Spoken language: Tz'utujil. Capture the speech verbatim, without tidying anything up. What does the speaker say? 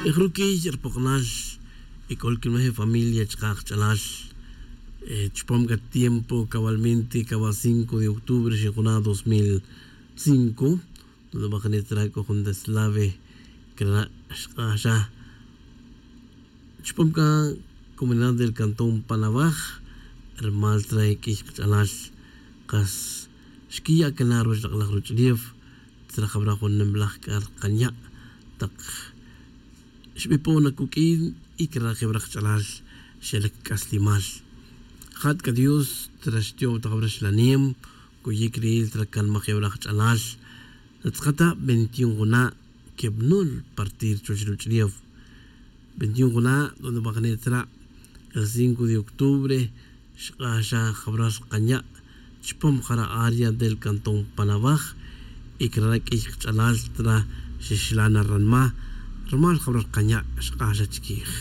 Ruquiy ripoknal y c'o li quinmej familia chaka' kach'alal chupam c'a tiempo cabalmente caba cinco de octubre xinjuna' dos mil cinco. Donde bajane tzra c'o jun deslave crana' xk'axa chupam c'a comunidad del cantón panawaj. Rimal tzra q'uiy kach'alal kas xquiya' cana ruwech lak' laj ruch'ulef tzra jabra jun nimlaj c'a rkanya' tak xbipon na cuq'uin y crana' jebra kach'alal xelic c'aslimal. Jat c'a dios tzra xtiyo'w tak jabra xlanem cuyic ril tzra canmaj jebra kach'alal. Natz'akata veintiun juna' quebnul partir chuwech ruch'ulef veintiun juna' donde bajane tzra el cinco de octubre xk'axa jabra rkanya' chupam jara área del cantón panawaj. Y crana' q'uiy kach'alal tzra xixla' na ranma rimal jabra rkanya' xk'axa chiquij.